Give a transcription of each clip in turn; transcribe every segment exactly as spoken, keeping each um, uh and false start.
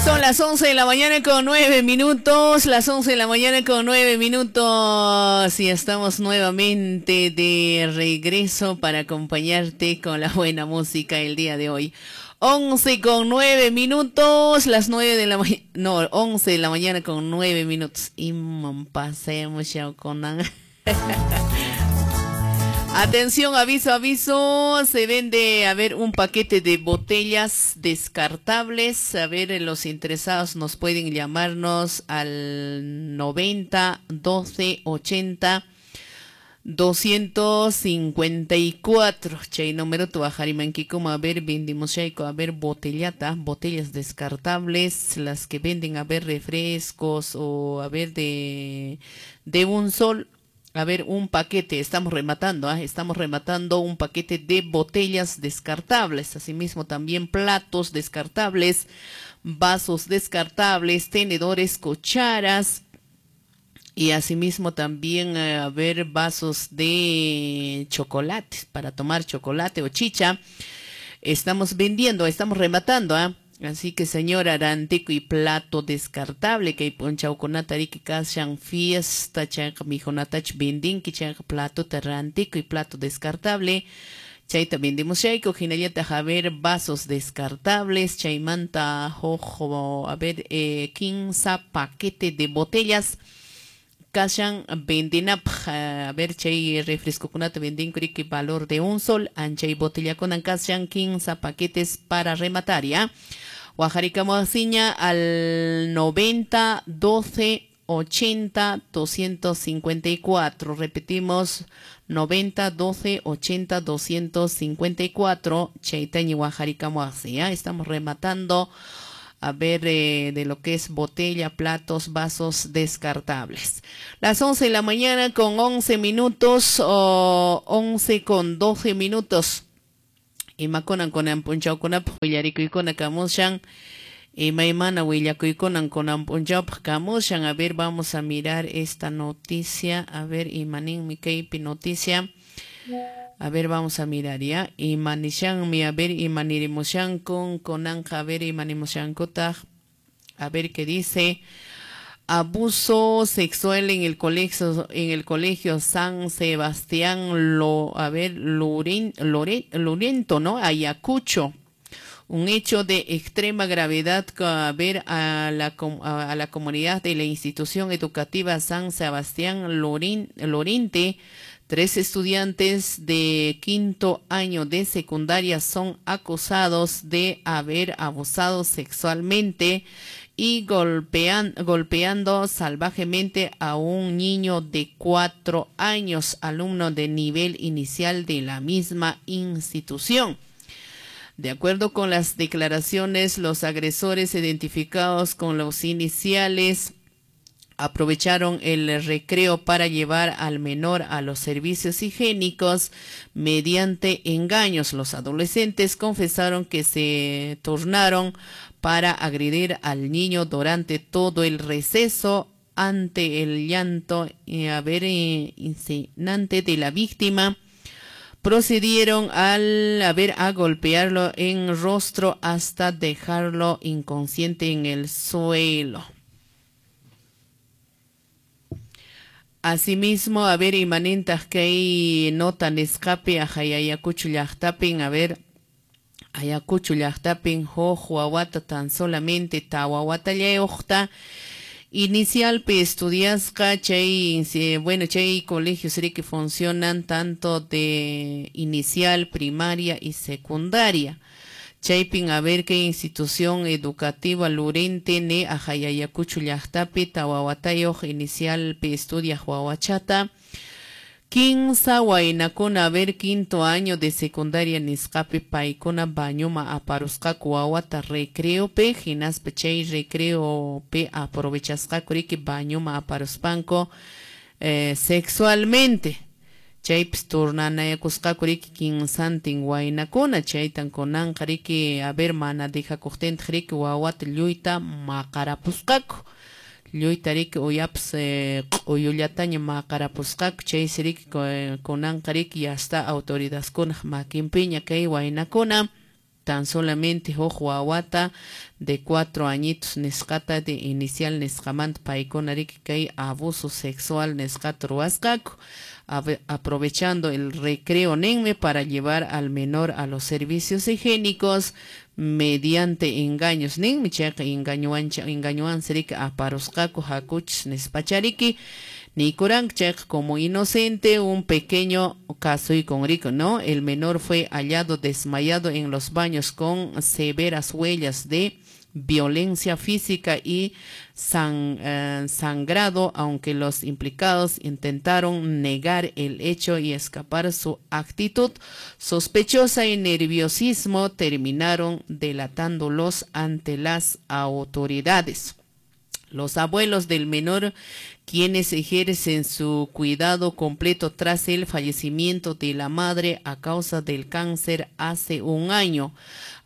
Son las once de la mañana con nueve minutos, las once de la mañana con nueve minutos y estamos nuevamente de regreso para acompañarte con la buena música el día de hoy. once con nueve minutos, las nueve de la mañana, no, once de la mañana con nueve minutos. Y pasemos ya con... Atención, aviso, aviso, se vende, a ver, un paquete de botellas descartables. A ver, los interesados nos pueden llamarnos al noventa, doce, ochenta, doscientos cincuenta y cuatro. Chay número tu como a ver, vendimos chayco, a ver, botellata, botellas descartables, las que venden, a ver, refrescos o a ver, de, de un sol. A ver, un paquete, estamos rematando, ¿eh? Estamos rematando un paquete de botellas descartables, asimismo también platos descartables, vasos descartables, tenedores, cucharas y asimismo también, eh, a ver, vasos de chocolate, para tomar chocolate o chicha. Estamos vendiendo, estamos rematando, ¿eh? Así que señora Arantico y plato descartable que punchaukunata riki kashan fiesta chayqa mijunatach vendinki chayqa plato rantico y plato descartable chayta vendimos chayko hinallataq a ver vasos descartables chaymanta jojo a ver eh, quince paquete de botellas kashan vendinapaq a ver chay refrescokunata vendinku riki valor de un sol anchay botellakunan kashan quince paquetes para rematar ya. Wajarikamuasiña al noventa, doce, ochenta, doscientos cincuenta y cuatro. Repetimos, noventa, doce, ochenta, doscientos cincuenta y cuatro. Chaytañi wajarikamuasi, ¿ya? Estamos rematando a ver eh, de lo que es botella, platos, vasos descartables. Las once de la mañana con once minutos o once con doce minutos. Imakunan kunan punchawkunapaq willarikuykuna kamushan, imaymana willakuykunan kunan punchawpaq kamushan. A ver, vamos a mirar esta noticia. A ver, imaninmi kaypi noticia. A ver, vamos a mirar ya. Imanishanmi, a ver, imanirimushankun, kunanqa, a ver, imanimushankutaq. A ver qué dice. Abuso sexual en el colegio, en el colegio San Sebastián, lo, a ver, Loren, Loren, Lorento, ¿no? Ayacucho. Un hecho de extrema gravedad, a ver, a la, a la comunidad de la institución educativa San Sebastián Loren, Lorente. Tres estudiantes de quinto año de secundaria son acusados de haber abusado sexualmente y golpean, golpeando salvajemente a un niño de cuatro años, alumno de nivel inicial de la misma institución. De acuerdo con las declaraciones, los agresores identificados con los iniciales aprovecharon el recreo para llevar al menor a los servicios higiénicos mediante engaños. Los adolescentes confesaron que se turnaron para agredir al niño durante todo el receso ante el llanto y a ver, eh, insinuante de la víctima. Procedieron al a ver, a golpearlo en rostro hasta dejarlo inconsciente en el suelo. Asimismo, a ver, imanintaq kay nota nisqapi Ayacucho llaqtapin, a ver, Ayacucho llaqtapin huk wawata tan solamente tawa watallayuqta inicialpi estudiasqa chay, bueno, chay colegios que funcionan tanto de inicial, primaria y secundaria. Chaypin a ver qué institución educativa Lurente ne Ayacucho llaqtapi tawa watayuq inicialpi estudia wawachata. Kinsa waynakuna a ver quinto año de secundaria nisqapi paykuna bañuma aparusqaku wawata recreopi hinaspa chay recreopi aprovechasqaku riki bañuma aparuspanku eh, sexualmente. Chaypis turnanayakusqaku riki kinsantin waynakuna chaytan kunanqa riki a ver mana dejakuqtintaq riki wawata lluyta maqarapusqaku. Lluyta riki uyapas eh, q'uyullataña maqarapusqaku chaysi riki kunanqa riki ya está autoridadkunaq makinpiña kay waynakuna. Tan solamente huk wawata de cuatro añitos nisqata de inicial nisqamanta paykuna riki kay abuso sexual nisqata ruwasqaku, aprovechando el recreo ninmi para llevar al menor a los servicios higiénicos mediante engaños ninmi. Chayqa engañowancha engañowansi riki aparusqaku hakuchis nispachariki nikuranku. Chayqa como inocente un pequeño con rico, ¿no? El menor fue hallado desmayado en los baños con severas huellas de violencia física y san, eh, sangrado, aunque los implicados intentaron negar el hecho y escapar su actitud sospechosa y nerviosismo, terminaron delatándolos ante las autoridades. Los abuelos del menor, quienes ejercen su cuidado completo tras el fallecimiento de la madre a causa del cáncer hace un año,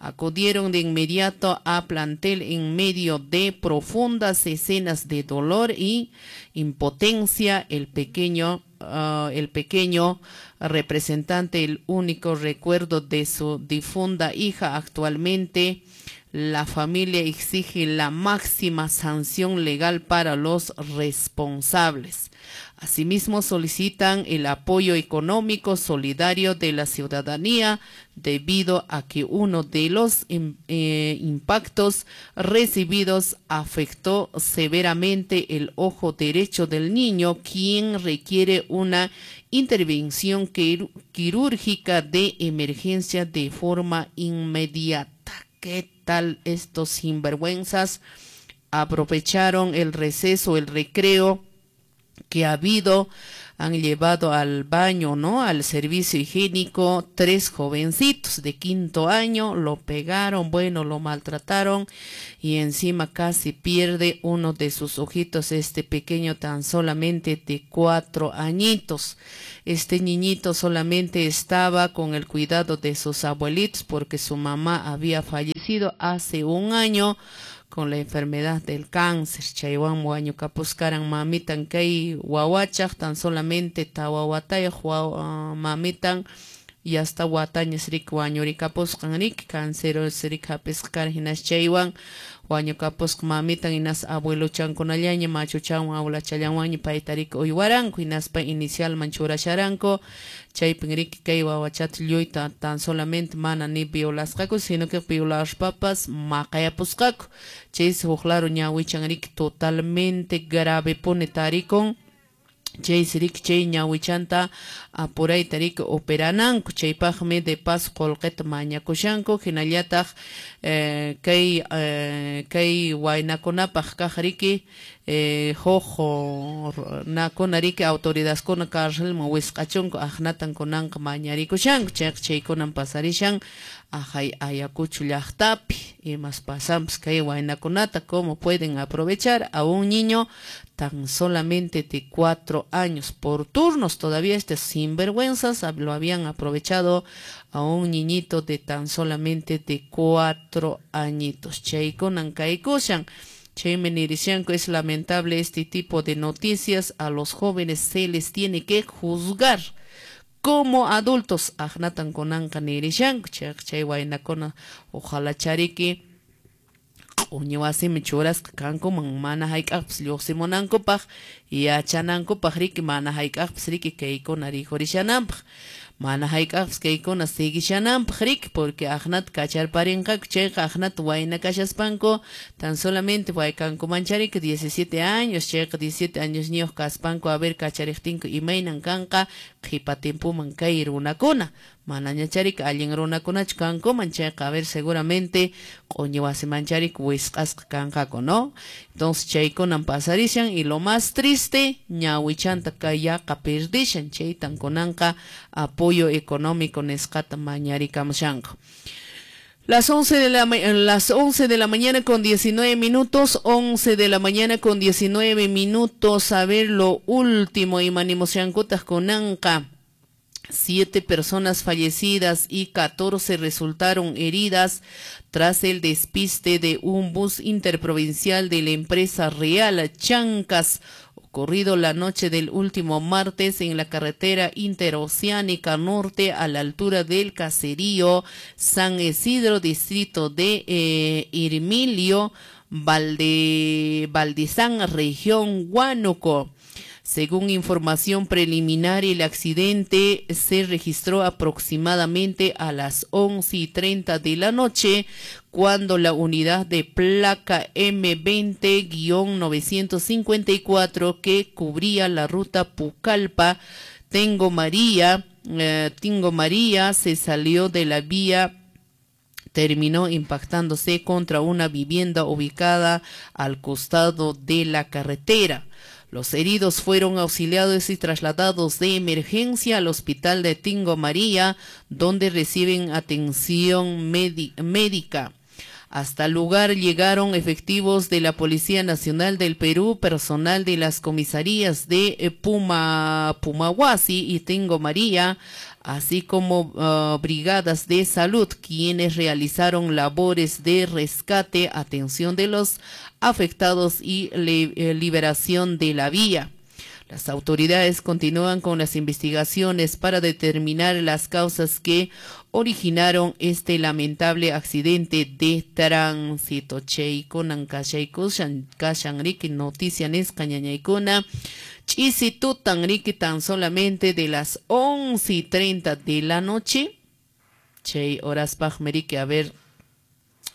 acudieron de inmediato a plantel en medio de profundas escenas de dolor y impotencia. El pequeño, uh, el pequeño representante, el único recuerdo de su difunda hija. Actualmente la familia exige la máxima sanción legal para los responsables. Asimismo, solicitan el apoyo económico solidario de la ciudadanía debido a que uno de los eh, impactos recibidos afectó severamente el ojo derecho del niño, quien requiere una intervención quirúrgica de emergencia de forma inmediata. ¿Qué tal estos sinvergüenzas? Aprovecharon el receso, el recreo que ha habido, han llevado al baño, ¿no? Al servicio higiénico, tres jovencitos de quinto año, lo pegaron, bueno, lo maltrataron y encima casi pierde uno de sus ojitos este pequeño tan solamente de cuatro añitos. Este niñito solamente estaba con el cuidado de sus abuelitos porque su mamá había fallecido hace un año con la enfermedad del cáncer. Chaywan wañukapuskaran mamitan kay wawachaq tan solamente tawa watayuq mamitan y hasta watañas riki wañurikapusqan riki cáncer riki hapisqa karan hinas chaywan wañukapusqa mamitan hinas abueluchankunallaña machuchanwan abuelachallanwanña payta riki uywaranku hinaspa inicialman churasharanku chaypin riki kay wawachata lluyta tan solamente mana ni violasqaku sino que violaspapas maqayapusqaku chaysi huk laro ñawichan riki totalmente grave pone tarikun. Chaysi riki chay ñawichanta apurayta riki operananku chaypaqmi de paso qullqita mañakushanku hinallataq eh, kay eh, kay waynakunapaq kaq riki eh, huk nakuna riki autoridadkuna carcelman wisq'achunku aqnatan kunanqa mañarikushanku chayqa chaykunan pasarishan ajay Ayacucho llaqtapi imas pasanpas kay waynakunata cómo pueden aprovechar a un niño tan solamente de cuatro años por turnos. Todavía este sinvergüenzas lo habían aprovechado a un niñito de tan solamente de cuatro añitos. Chaykunan kaykushan. Chaymi nirishanku, es lamentable este tipo de noticias. A los jóvenes se les tiene que juzgar como adultos. Aqnatan kunanqa nirishanku. Chay waynakuna ojalá chariki q'uñi wasimi churasqa kankuman mana hayk'aqpas lluqsimunankupaq yachanankupaq riki mana hayk'aqpas riki kaykuna rikurishananpaq mana hayk'aqpas kaykuna siguishananpaq riki porque aqnata kacharparinqaku chayqa aqnata wayna kashaspanku tan solamente waykankuman chariki diecisiete años chayqa diecisiete años ñiyuq kaspanku a ver kachariqtinku imaynan kanqa qhipa timpuman kay runakuna manaña chariki allin runakunachu kankuman chayqa a ver seguramente q'uñi wasiman chariki wisq'asqa kanqaku, ¿no? Entonces chaykunan pasarishan y lo más triste ñawichanta kay yaqa perdishan chaytan kunanqa apoyo económico nisqata mañarikamushanku. Las once de la, las once de la mañana con diecinueve minutos, once de la mañana con diecinueve minutos, a ver lo último, imanimushankutas kunanqa. Siete personas fallecidas y catorce resultaron heridas tras el despiste de un bus interprovincial de la empresa Real Chancas, Ocurrido la noche del último martes en la carretera interoceánica norte a la altura del caserío San Isidro, distrito de eh, Irmilio, Valde, Valdizán, región Huánuco. Según información preliminar, el accidente se registró aproximadamente a las once y treinta de la noche, cuando la unidad de placa M veinte guion novecientos cincuenta y cuatro que cubría la ruta Pucallpa, Tingo María, eh, Tingo María se salió de la vía, terminó impactándose contra una vivienda ubicada al costado de la carretera. Los heridos fueron auxiliados y trasladados de emergencia al hospital de Tingo María, donde reciben atención médica. Hasta el lugar llegaron efectivos de la Policía Nacional del Perú, personal de las comisarías de Puma, Pumahuasi y Tingo María, así como uh, brigadas de salud, quienes realizaron labores de rescate, atención de los afectados y le, eh, liberación de la vía. Las autoridades continúan con las investigaciones para determinar las causas que originaron este lamentable accidente de tránsito. Chaykunan kashaykushan kashan riki noticia nisqa ñañaykuna ch'isitutan riki tan solamente de las once y treinta de la noche. Chay horaspaqmi riki a ver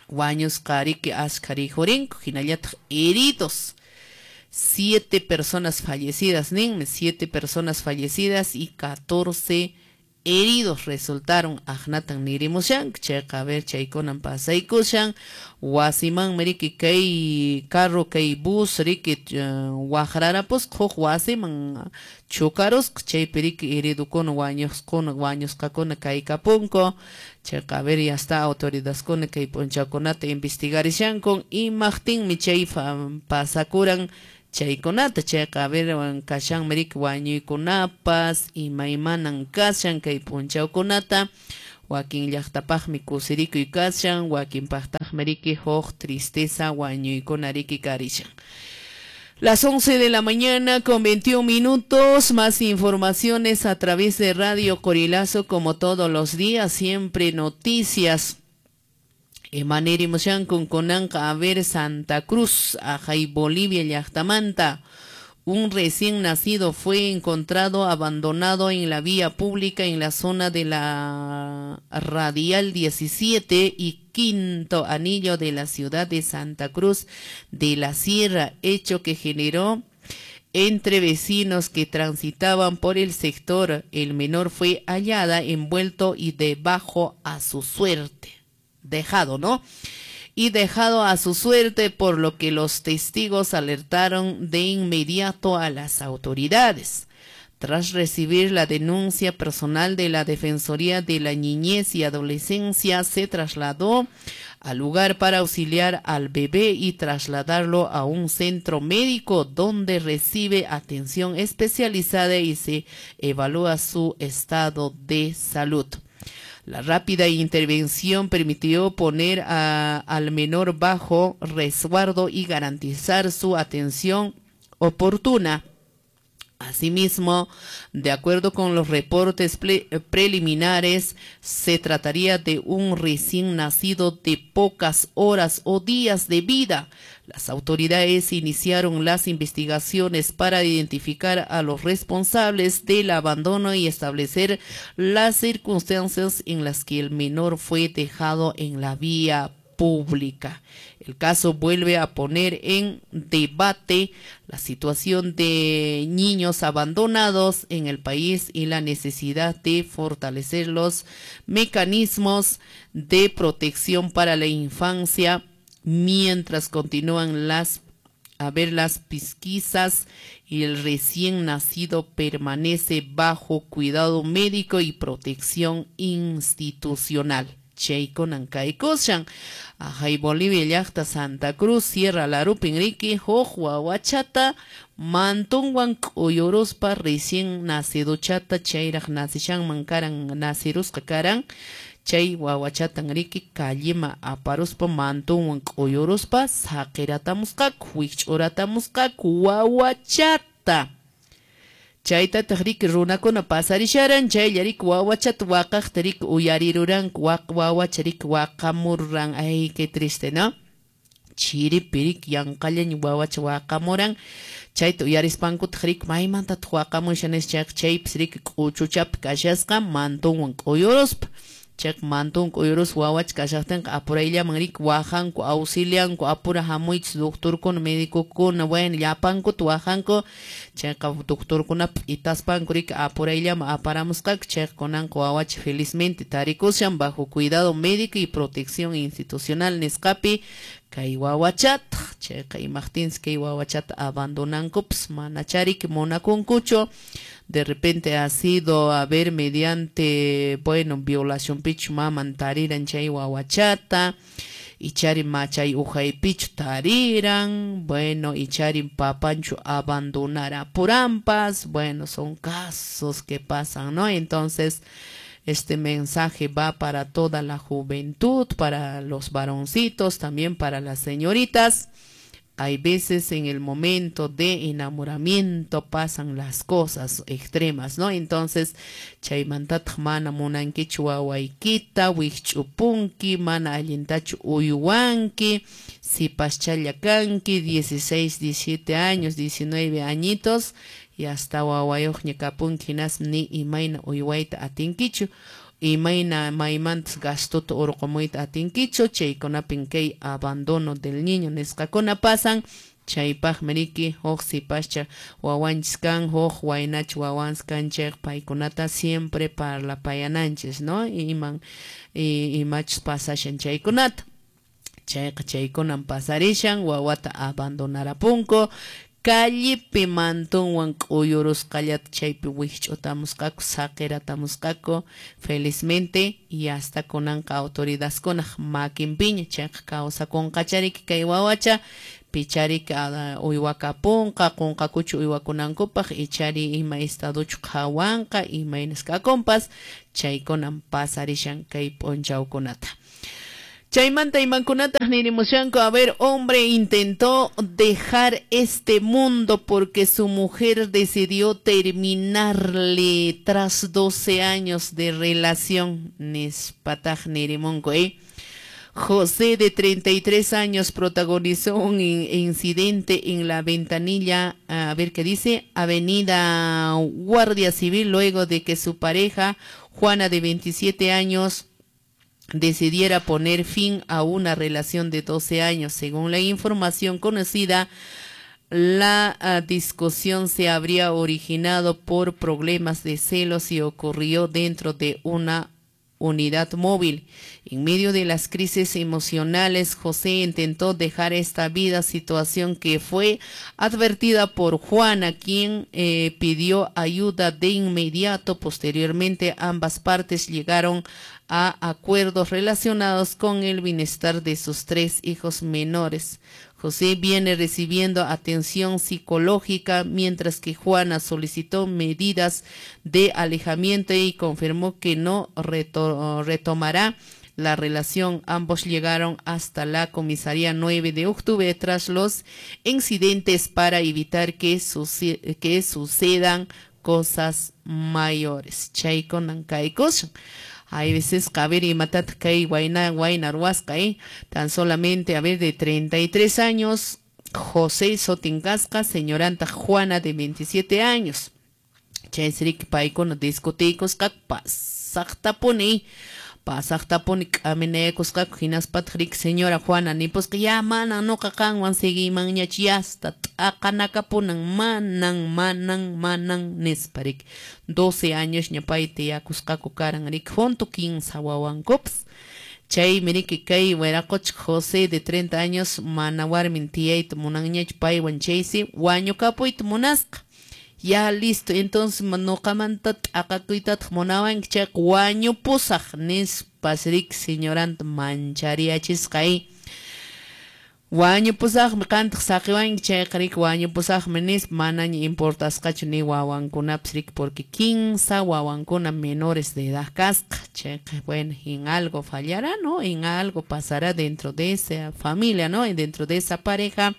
wañusqa riki ashkha rikhurinku hinallataq heridos. Siete personas fallecidas, ninmi, siete personas fallecidas y catorce heridos resultaron. Aqnatan nirimushan, chayqa a ver chaykunan pasaykushan, wasimanmi riki kay carro kay bus riki waqrarapusqa huk wasiman chukarusqa, chaypi riki heridokuna wañusquna wañusqakuna kaykapunku. Chayqa a ver ya está autoridadkuna kay p'unchawkunata investigarishanku imaqtinmi chay pasakuran chaykunata. Chayqa a ver kashanmi riki wañuykunapas imaymanan kashan kay p'unchawkunata. Wakin llaqtapaqmi kusirikuy kashan, wakinpaqtaqmi riki huk tristeza wañuykuna riki karishan. Las once de la mañana con veintiún minutos, más informaciones a través de Radio Corilazo, como todos los días, siempre noticias. Emanerimushan con Conanca, a ver Santa Cruz, Ajay, Bolivia, llaqtamanta. Un recién nacido fue encontrado abandonado en la vía pública en la zona de la Radial diecisiete y Quinto Anillo de la ciudad de Santa Cruz de la Sierra, hecho que generó entre vecinos que transitaban por el sector. El menor fue hallada envuelto y debajo a su suerte. Dejado, ¿no? Y dejado a su suerte, por lo que los testigos alertaron de inmediato a las autoridades. Tras recibir la denuncia personal de la Defensoría de la Niñez y Adolescencia, se trasladó al lugar para auxiliar al bebé y trasladarlo a un centro médico donde recibe atención especializada y se evalúa su estado de salud. La rápida intervención permitió poner a, al menor bajo resguardo y garantizar su atención oportuna. Asimismo, de acuerdo con los reportes preliminares, se trataría de un recién nacido de pocas horas o días de vida. Las autoridades iniciaron las investigaciones para identificar a los responsables del abandono y establecer las circunstancias en las que el menor fue dejado en la vía pública. El caso vuelve a poner en debate la situación de niños abandonados en el país y la necesidad de fortalecer los mecanismos de protección para la infancia mientras continúan las a ver las pesquisas y el recién nacido permanece bajo cuidado médico y protección institucional. Chaykunan kaykushan Ajay Bolivia llaqta Santa Cruz Sierra Larupin riki huk wawachata mantunwan k'uyuruspa recién nacidochata chayraq nacishanman karan nacirusqa karan chay wawachatan riki kallima aparuspa mantunwan k'uyuruspa saqiratamusqaku wikch'uratamusqaku wawachata. kashaqta. Chaytataq riki runakuna pasarisharan, chaylla riki wawachata waqaqta riki uyariruranku, waq wawacha riki waqamurran. Ay, qué triste, ¿no? Chiripi riki yanqallaña wawacha waqamuran. Chayta uyarispankutaq riki maymantataq waqamushan nispa, chayqa chaypis riki k'uchuchapi kashasqa mantonwan k'uyuruspa. Chayqa manton k'uyuruspa wawacha kashaqtinqa apurayllaman riki wajanku, auxilianku, apura hamuychis doctorkuna, medicokuna, bueno, llapankuta wajanku. Chayqa doctorkuna p'itaspanku riki apurayllaman aparamusqaku. Chayqa kunanqa wawacha felizmente tarikushan bajo cuidado médico y protección institucional nisqapi kay wawachataq. Chayqa imaqtinsi kay wawachata abandonankupas, manachá riki munakunkuchu. De repente ha sido, a ver, mediante, bueno, violación pichu maman tariran chay wawachata, ichari machay ujaypichu tariran, bueno, ichari papanchu abandonara purampas. Bueno, son casos que pasan, ¿no? Entonces, este mensaje va para toda la juventud, para los varoncitos, también para las señoritas. Hay veces en el momento de enamoramiento pasan las cosas extremas, ¿no? Entonces, chaymantataq mana munankichu wawaykita, wikch'upunki, mana allintachu uywanki, sipaschalla kanki, dieciséis, diecisiete años, diecinueve añitos, y hasta wawayuqña kapunki, hinaspa ni imayna uywayta atinkichu, imayna maymantas gastuta urqumuyta atinkichu. Chaykunapin kay abandono del niño nisqakuna pasan. Chaypaqmi riki huk sipascha wawanchis kan, huk waynacha wawanchis kan, chayqa paykunata siempre parlapayananchis, ¿no? Iman imachus pasashan chaykunata. Chayqa chaykunan pasarishan, wawata abandonarapunku. Callepi mantonwan k'uyurusqallata chaypi wikch'utamusqaku, saqiratamusqaku felizmente, y hasta kunanqa autoridadkunaq makinpiña. Chayqa kawsakunqachariki kay wawacha, pichariki uywakapunqa, qunqakuchu uywakunankupaq, ichari ima estaduchu qhawanqa, imaynas kakunpas, chaykunan pasarishan kay p'unchawkunata. Chaymanta imankunataq nirimushanku. A ver, hombre intentó dejar este mundo porque su mujer decidió terminarle tras doce años de relación. Nispataq nirimunku, ¿eh? José, de treinta y tres años, protagonizó un incidente en la Ventanilla, a ver qué dice, Avenida Guardia Civil, luego de que su pareja, Juana, de veintisiete años, decidiera poner fin a una relación de doce años. Según la información conocida, la uh, discusión se habría originado por problemas de celos y ocurrió dentro de una unidad móvil. En medio de las crisis emocionales, José intentó dejar esta vida, situación que fue advertida por Juana, quien eh, pidió ayuda de inmediato. Posteriormente, ambas partes llegaron a acuerdos relacionados con el bienestar de sus tres hijos menores. José viene recibiendo atención psicológica, mientras que Juana solicitó medidas de alejamiento y confirmó que no reto- retomará la relación. Ambos llegaron hasta la comisaría nueve de octubre tras los incidentes para evitar que, suce- que sucedan cosas mayores. Chaykunan kaykushan. Hay veces, a ver, imatataq kay wayna wayna ruwasqa, eh? Tan solamente, a ver, de treinta y tres años, José sutin kasqa, señoranta Juana, de veintisiete años. Chaysi riki paykuna discutiykusqaku pasaqtapuni, pasaqtapuni k'aminayakusqaku. Hinaspataq riki señora Juana nipusqa, ya manan nuqa qanwan seguiymanñachu, yasta t'aqanakapunan, manan, manan, manan nispa riki. doce añosña pay tiyakusqaku karan riki, junto kinsa wawankupas. Chaymi riki kay wiraqocha José, de treinta años, mana warmin tiyayta munanñachu paywan, chaysi wañukapuyta munasqa. Ya listo, entonces nuqamanta t'aqakuytataq munawanki chayqa wañupusaq nispas riki señoranta manchariyachisqa. Wañupusaqmi qantaq saqiwanki chayqa riki wañupusaqmi nispa, manaña importasqachu ni wawankunapas riki, porque kinsa wawankuna menores de edad kasqa. Chayqa, bueno, en algo fallará, ¿no? En algo pasará dentro de esa familia, ¿no? Dentro de esa pareja.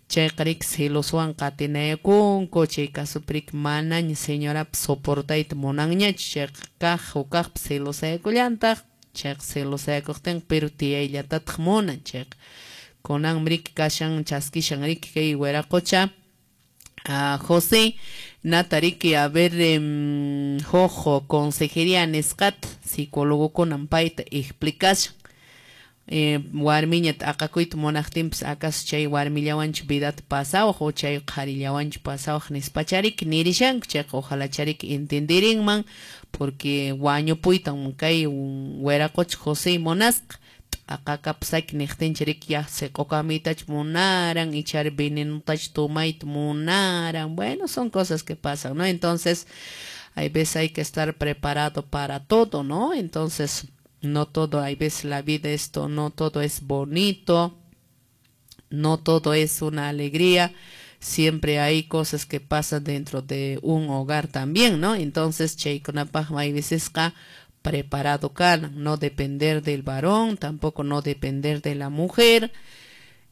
Chayqa riki celoswan qatinayakunku, chay casopi riki manaña señorapas soportayta munanñachu, chayqa kaq hukaqpas celosayakullantaq, chayqa celosayakuqtinqa pero tiyayllatataq munan, chayqa kunanmi riki kashan chaskishan riki kay wiraqocha uh, José nata riki a ver um, huk consejería nisqata psicólogokunan payta explicashan. Eh, warmiña t'aqakuyta munaqtinpas acaso chay warmillawanchu vidata pasawaq o chay qharillawanchu pasawaq nispachariki nirishanku, chayqa ojalá chariki entendirinman porque wañupuytan kay wiraqocha José munasqa t'aqakapusaki niqtincha riki ya siq'ukamiytachu munaran ichari venenotachu tomayta munaran. Bueno, son cosas que pasan, ¿no? Entonces hay veces hay que estar preparado para todo, ¿no? Entonces no todo, hay veces la vida esto, no todo es bonito, no todo es una alegría, siempre hay cosas que pasan dentro de un hogar también, ¿no? Entonces, chaykunapaq hay veces preparado kana, no depender del varón, tampoco no depender de la mujer.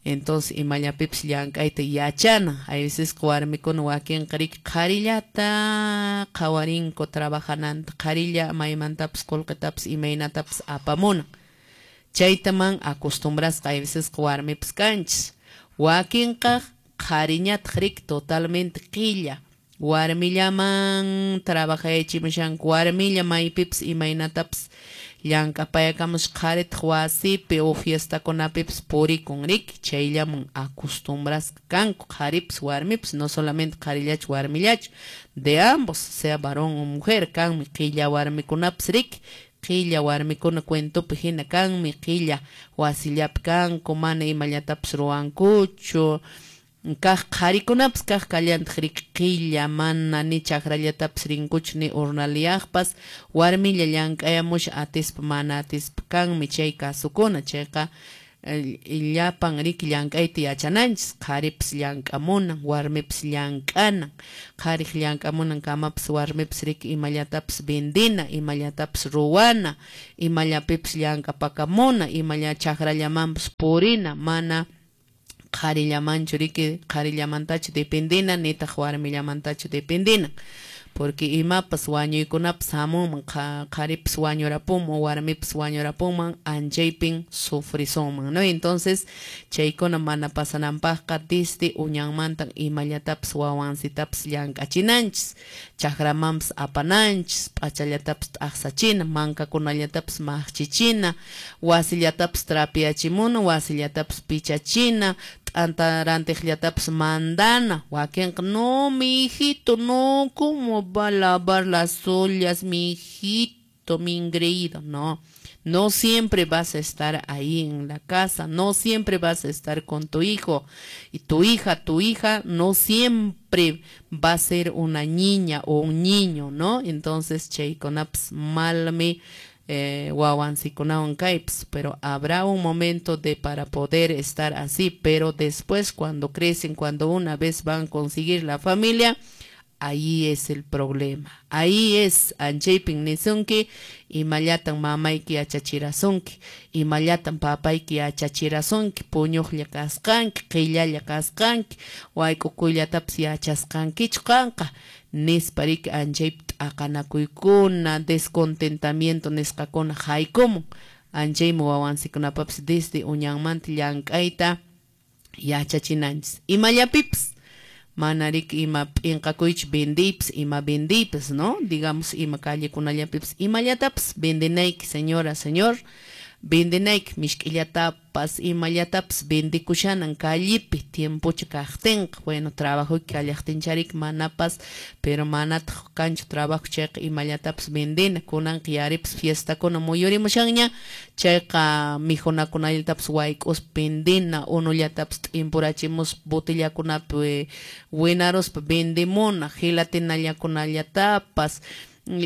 Entonces, imallapipas llank'ayta yachana. Hay veces warmikuna wakinqa riki qharillata qhawarinku trabajananta, qharilla maymantapas qullqitapas imaynatapas apamunan. Chaytaman acostumbrasqa hay veces warmipas kanchis. Wakinqa qhariñataq riki totalmente qilla. Warmillaman trabajayachimushanku, warmilla maypipas imaynatapas llank'apayakamus qharitaq wasipi o fiestakunapipas purikun riki, chayllaman acostumbrasqa kanku qharipas warmipas, no solamente qharillachu warmillachu, de ambos, sea varón o mujer, kanmi qilla warmikunapas riki, qilla warmikuna cuentopi hina kanmi, qilla wasillapi kanku, mana imallatapas ruwankuchu. Kaq qharikunapas kaq kallantaq riki qilla, mana ni chakrallatapas rinkuchu ni urnaliyaqpas, warmilla llank'ayamusha atispa mana atispa kanmi chay kasukuna, chayqa llapan riki llank'ayta yachananchis, qharipas llank'amunan, warmipas llank'anan, qhariq llank'amunan kamapas warmipas riki imallatapas vendina, imallatapas ruwana, imallapipas llank'apakamuna, imalla chakrallamanpas purina, mana qharillamanchu riki qharillamantachu dependina nitaq warmillamantachu dependina, porque imapas wañuykunapas hamunman, qharipas wañurapunman, warmipas wañurapunman, anchaypin sufrisunman, ¿no? Entonces chaykuna mana pasananpaqqa desde uñanmantan imallatapas wawansitapas llank'achinanchis, chakramanpas apananchis, p'achallatapas t'aqsachina, mankakunallatapas maqchichina, wasillatapas trapiachimuna, wasillatapas pichachina, t'anta rantiqllatapas mandana. Wakinqa no, mi hijito, no, ¿cómo va a lavar las ollas, mi hijito, mi engreído? No, no siempre vas a estar ahí en la casa, no siempre vas a estar con tu hijo y tu hija, tu hija no siempre va a ser una niña o un niño, ¿no? Entonces, chaykunapas malmi eh, wawansikunawan kaypas, pero habrá un momento de para poder estar así, pero después cuando crecen, cuando una vez van a conseguir la familia, ahí es el problema. Ahí es anchaypin nisunki, imallatan mamayki yachachirasunki, imallatan papayki yachachirasunki, puñuqlla kasqanki, qillalla kasqanki, wayk'ukuyllatapas yachasqankichu qanqa, nispa riki anchaypi t'aqanakuykuna, descontentamiento nisqakuna haykumun. Anchaymi wawansikunapapas desde uñanmanta llank'ayta yachachinanchis. Imallapipas mana riki ima p'inqakuychu vendiypas, ima vendiypas, ¿no? Digamos, ima callekunallapipas imallatapas vendinayki, señora, señor, vendinayki mishk'illatapas, imallatapas vendikushanan callepi tiempocha kaqtinqa. Bueno, trabajoyki kallaqtincharik manapas, pero manataq kanchu trabajo chayqa imallatapas vendina. Kunanqa yaripas fiestakuna muyurimushanña, chayqa mijunakunallatapas wayk'uspa vendina, unullatapas t'impurachimuspa botellakunapi winaruspa vendimuna, gelatinallakunallatapas,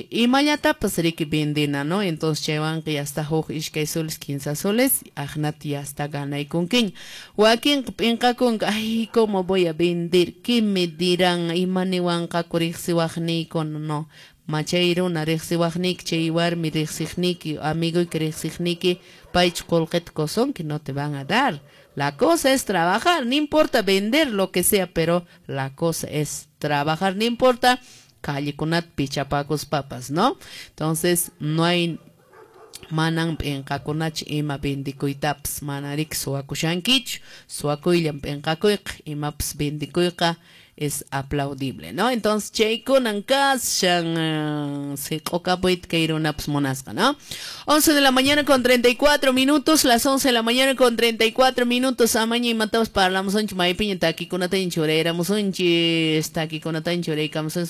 imallatapas riki vendina, ¿no? Entonces chaywanqa ya está huk iskay soles, quince soles, aqnata ya está ganaykunkiña. Wakinqa p'inqakunqa, ay, ¿cómo voy a vender? ¿Qué me dirán? Ima niwanqaku riqsiwaqniykuna? No, machay runa riqsiwaqniyki, chay warmi riqsiqniyki, amigoyki riqsiqniyki, paychu qullqita qusunki, no te van a dar. La cosa es trabajar, no importa vender lo que sea, pero la cosa es trabajar, no importa callekunata pichapakuspapas, ¿no? Entonces, no hay manan p'inqakunachu ima vendikuytapas, mana riki suwakushankichu, suwakuyllan p'inqakuyqa, imapas vendikuyqa es aplaudible, ¿no? Entonces, chaykunan kashan siq'ukapuyta kay runapas munasqa, ¿no? once de la mañana con treinta y cuatro minutos, las once de la mañana con treinta y cuatro minutos, amaña imatapas parlamusunchik, maypiña takikunata churayramusunchis, takikunata churaykamusunchis.